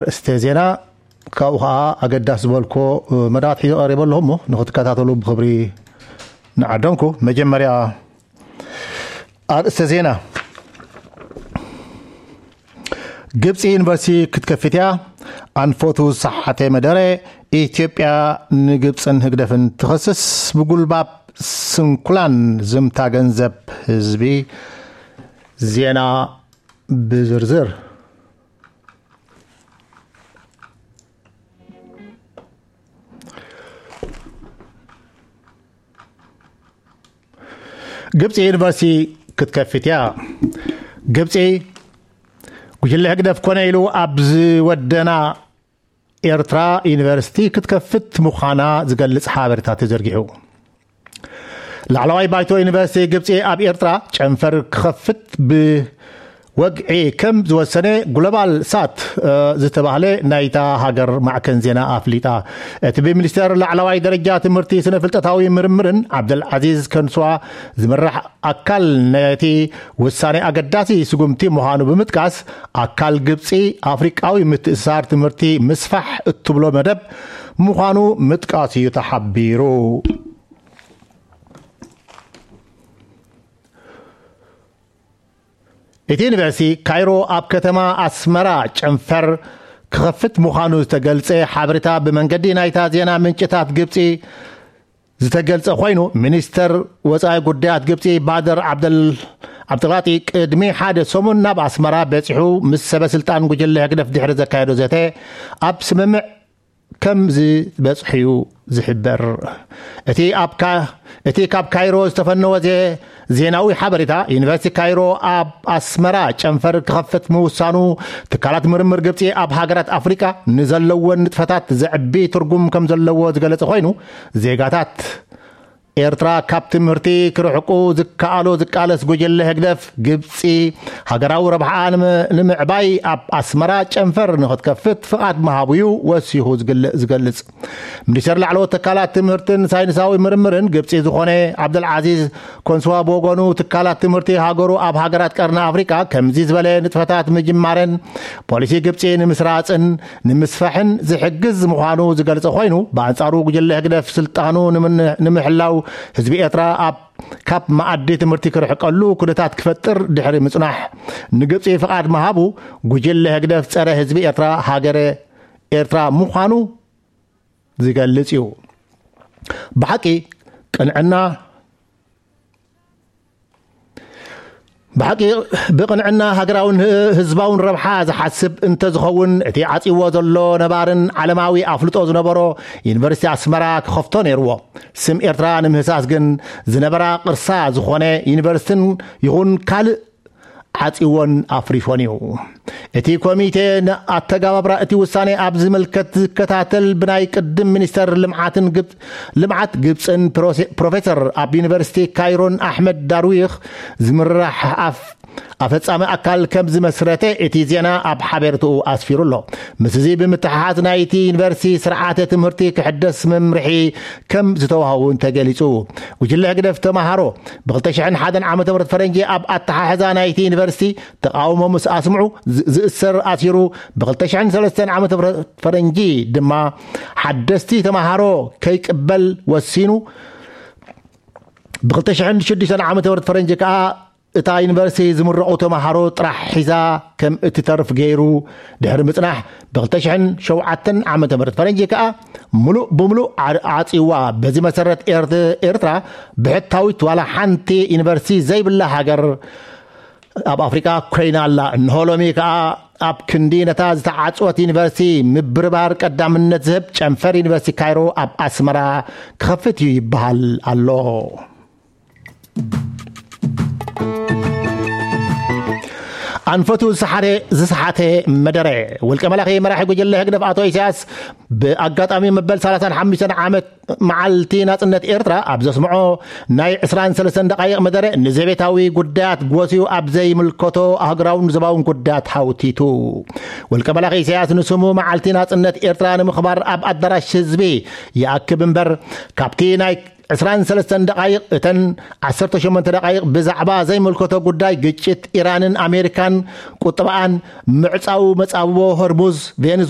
ኣርእስተ ዜና፣ ካብኡ ኸዓ ኣገዳሲ ዝበልኮ መዳት ሒዘ ቀሪበ ኣለኹ እሞ ንኽትከታተሉ ብኽብሪ ንዓደምኩ። መጀመርያ ኣርእስተ ዜና፣ ግብፂ ዩኒቨርሲቲ ክትከፍት እያ። ኣንፈቱ ዝሰሓተ መደረ፣ ኢትዮጵያ ንግብፅን ህግደፍን ትኸስስ። ብጉልባብ ስንኩላን ዝምታ ገንዘብ ህዝቢ። ዜና ብዝርዝር። ግብፂ ዩኒቨርሲቲ ክትከፍት እያ። ግብፂ፣ ጉጅለ ህግደፍ ኮነ ኢሉ ኣብ ዝወደና ኤርትራ ዩኒቨርሲቲ ክትከፍት ምዃና ዝገልጽ ሓበሬታ ተዘርጊሑ። ላዕለዋይ ባይቶ ዩኒቨርሲቲ ግብፂ ኣብ ኤርትራ ጨንፈር ክኸፍት ብወግዒ ከም ዝወሰነ ግሎባል ሳት፣ እ፣ ዝተባህለ ናይታ ሃገር ማዕከን ዜና ኣፍሊጣ። እቲ ብሚኒስተር ላዕለዋይ ደረጃ ትምህርቲ፣ ስነ ፍልጠታዊ ምርምርን ዓብደልዓዚዝ ከንስዋ ዝምራሕ ኣካል ነቲ ውሳኔ ኣገዳሲ ስጉምቲ ምዃኑ ብምጥቃስ፣ ኣካል ግብፂ ኣፍሪቃዊ ምትእስሳር ትምህርቲ ምስፋሕ እትብሎ መደብ ምዃኑ ምጥቃስ እዩ ተሓቢሩ። እቲ ዩኒቨርሲቲ ካይሮ ኣብ ከተማ ኣስመራ ጨንፈር ክኸፍት ምዃኑ ዝተገልጸ ሓበሬታ ብመንገዲ ናይታ ዜና ምንጭታት ግብፂ ዝተገልጸ ኮይኑ፣ ሚኒስተር ወጻኢ ጉዳያት ግብጺ ባደር ዓብደል-፣ ዓብደልቃጢ ቅድሚ ሓደ ሰሙን ናብ ኣስመራ በጺሑ ምስ ሰበ ስልጣን ጉጅለ ህግደፍ ድሕሪ ዘካየዶ ዘተ ኣብ ስምምዕ ከም ዝበጽሑ እዩ ዝሕበር። እቲ ኣብ ካ-፣ እቲ ካብ ካይሮ ዝተፈነወ ዜ-፣ ዜናዊ ሓበሬታ፣ ዩኒቨርሲቲ ካይሮ ኣብ ኣስመራ ጨንፈር ክኸፍት ምውሳኑ፣ ትካላት ምርምር ግብጺ ኣብ ሃገራት ኣፍሪቃ ንዘለወን ንጥፈታት ዘዕቢ ትርጉም ከም ዘለዎ ዝገለጸ ኮይኑ፣ ዜጋታት ኤርትራ ካብ ትምህርቲ ክርሕቁ ዝከኣሎ ዝቃለስ ጉጅለ ህግደፍ፣ ግብጺ ሃገራዊ ረብሓኣ ንመ-፣ ንምዕባይ ኣብ ኣስመራ ጨንፈር ንኽትከፍት ፍቓድ ምሃቡ እዩ ወሲኹ ዝግል-፣ ዝገልጽ። ሚኒስተር ላዕለዎት ትካላት ትምህርትን ሳይንሳዊ ምርምርን ግብጺ ዝኾነ ዓብደልዓዚዝ ኮንስዋ ብወገኑ፣ ትካላት ትምህርቲ ሃገሩ ኣብ ሃገራት ቀርኒ ኣፍሪቃ ከምዚ ዝበለ ንጥፈታት ምጅማረን ፖሊሲ ግብጺ ንምስራጽን ንምስፋሕን ዝሕግዝ ምዃኑ ዝገልጸ ኮይኑ፣ ብኣንጻሩ ጉጅለ ህግደፍ ስልጣኑ ንምን-፣ ንምሕላው ህዝቢ ኤርትራ ኣብ፣ ካብ መኣዲ ትምህርቲ ክርሕቀሉ ኩነታት ክፈጥር ድሕሪ ምጽናሕ ንግብጺ ፍቓድ ምሃቡ፣ ጉጅለ ህግደፍ ጸረ ህዝቢ ኤርትራ፣ ሃገረ ኤርትራ ምዃኑ ዝገልጽ እዩ። ብሓቂ ቅንዕና፣ ብሓቂ ብቅንዕና ሃገራውን ህ-፣ ህዝባውን ረብሓ ዝሓስብ እንተዝኸውን፣ እቲ ዓጽይዎ ዘሎ ነባርን ዓለማዊ ኣፍልጦ ዝነበሮ ዩኒቨርሲቲ ኣስመራ ክኸፍቶ ነይርዎ። ስም ኤርትራ ንምህሳስ ግን ዝነበራ ቅርሳ ዝኾነ ዩኒቨርሲቲን ይኹን ካልእ ዓጽይዎን ኣፍሪሶን እዩ። እቲ ኮሚቴ ንኣተጋባብራ እቲ ውሳኔ ኣብ ዝምልከት ዝከታተል ብናይ ቅድም ሚኒስተር ልምዓትን ግብ-፣ ልምዓት ግብጽን ፕሮሴ-፣ ፕሮፌሰር ኣብ ዩኒቨርሲቲ ካይሮን ኣሕመድ ዳርዊኽ ዝምራሕ ኣፍ-፣ ኣፈጻሚ ኣካል ከም ዝመስረተ እቲ ዜና ኣብ ሓቤርትኡ ኣስፊሩ ኣሎ። ምስዚ ብምትሓሓዝ ናይቲ ዩኒቨርሲቲ ስርዓተ ትምህርቲ ክሕደስ መምርሒ ከም ዝተዋህቡ ተገሊጹ። ጉጅለ ህግደፍ ተማሃሮ ብ ክልተ ሽሕን ሓደን ዓመተ ምህረት ፈረንጂ ኣብ ኣተሓሕዛ ናይቲ ዩኒቨርሲቲ ተቓውሞ ምስ ኣስምዑ ዝ-፣ ዝእሰር ኣሲሩ፣ ብ ክልተ ሽሕን ሰለስተን ዓመተ ምህረት ፈረንጂ ድማ ሓደስቲ ተማሃሮ ከይቅበል ወሲኑ። ብ ክልተ ሽሕን ሽዱሽተን ዓመተ ምህረት ፈረንጂ ከኣ እታ ዩኒቨርሲቲ ዝምረቑ ተማሃሮ ጥራሕ ሒዛ ከም እትተርፍ ገይሩ ድሕሪ ምጽናሕ፣ ብ ክልተ ሽሕን ሸውዓተን ዓመተ ምህረት ፈረንጂ ከኣ ምሉእ ብምሉእ ዓ-፣ ዓጽይዋ። በዚ መሰረት ኤርት-፣ ኤርትራ ብሕታዊት ዋላ ሓንቲ ዩኒቨርሲቲ ዘይብላ ሃገር ኣብ ኣፍሪቃ ኮይና ኣላ። እንሆ ሎሚ ከኣ ኣብ ክንዲ ነታ ዝተዓጽወት ዩኒቨርሲቲ ምብርባር ቀዳምነት ዝህብ ጨንፈር ዩኒቨርሲቲ ካይሮ ኣብ ኣስመራ ክኸፍት እዩ ይበሃል ኣሎ። ኣንፈቱ ዝሰሓተ፣ ዝሰሓተ መደረ። ውልቀ መላኺ መራሒ ጉጅለ ህግደፍ ኣቶ ኢሳያስ ብኣጋጣሚ መበል ሰላሳን ሓሙሽተን ዓመት መዓልቲ ናጽነት ኤርትራ ኣብ ዘስምዖ ናይ ዕስራን ሰለስተን ደቓይቕ መደረ፣ ንዘቤታዊ ጉዳያት ጎስዩ ኣብ ዘይምልከቶ ኣህጉራውን ዞባውን ጉዳያት ሃውቲቱ። ውልቀ መላኺ ኢሳያስ ንስሙ መዓልቲ ናጽነት ኤርትራ ንምኽባር ኣብ ኣዳራሽ ህዝቢ ይኣክብ እምበር፣ ካብቲ ናይ ዕስራን ሰለስተን ደቓይቕ፣ እተን ዓሰርተ ሸሞንተ ደቓይቕ ብዛዕባ ዘይምልከቶ ጉዳይ ግጭት ኢራንን ኣሜሪካን፣ ቁጠባኣን፣ ምዕጻው መጻብቦ ሆርሙዝ፣ ቬንዙዌላ፣